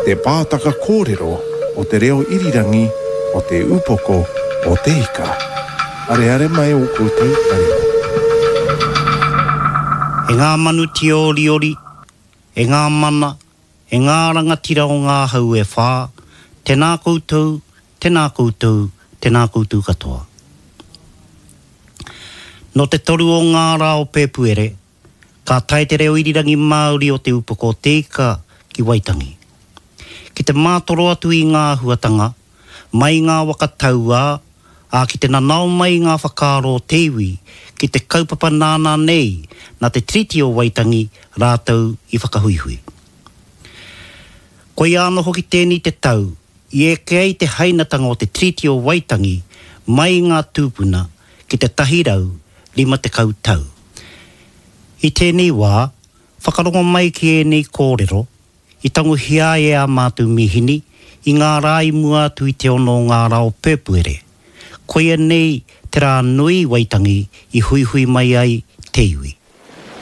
te pātaka kōrero o te reo irirangi o Te Upoko o Te Ika. Areare mai ō koutou taringa. E ngā manu tīoriori, e ngā mana, e ngā rangatira o ngā hau e whā, tēnā koutou, tēnā koutou, tēnā koutou katoa. Nō te toru o ngā rā o Pēpuere, ka tae te reo irirangi Māori o Te Upoko o Te Ika ki Waitangi. Ki te mātoro atu i ngā āhuatanga, mai i ngā waka tauā, ā, ki te nanao mai i ngā whakaaro o te iwi ki te kaupapa nāna nei, nā te Tiriti o Waitangi rātou i whakahuihui. Koia anō hoki tēnei te tau i eke ai te hainatanga o te Tiriti o Waitangi mai i ngā tūpuna ki te 150 tau. I tēnei wā, whakarongo mai ki ēnei kōrero i tangohia ai e ā mātou mīhini i ngā rā i mua atu i te ono o ngā rā o Pēpuere. Koia nei te rā nui i Waitangi i huihui mai ai te iwi.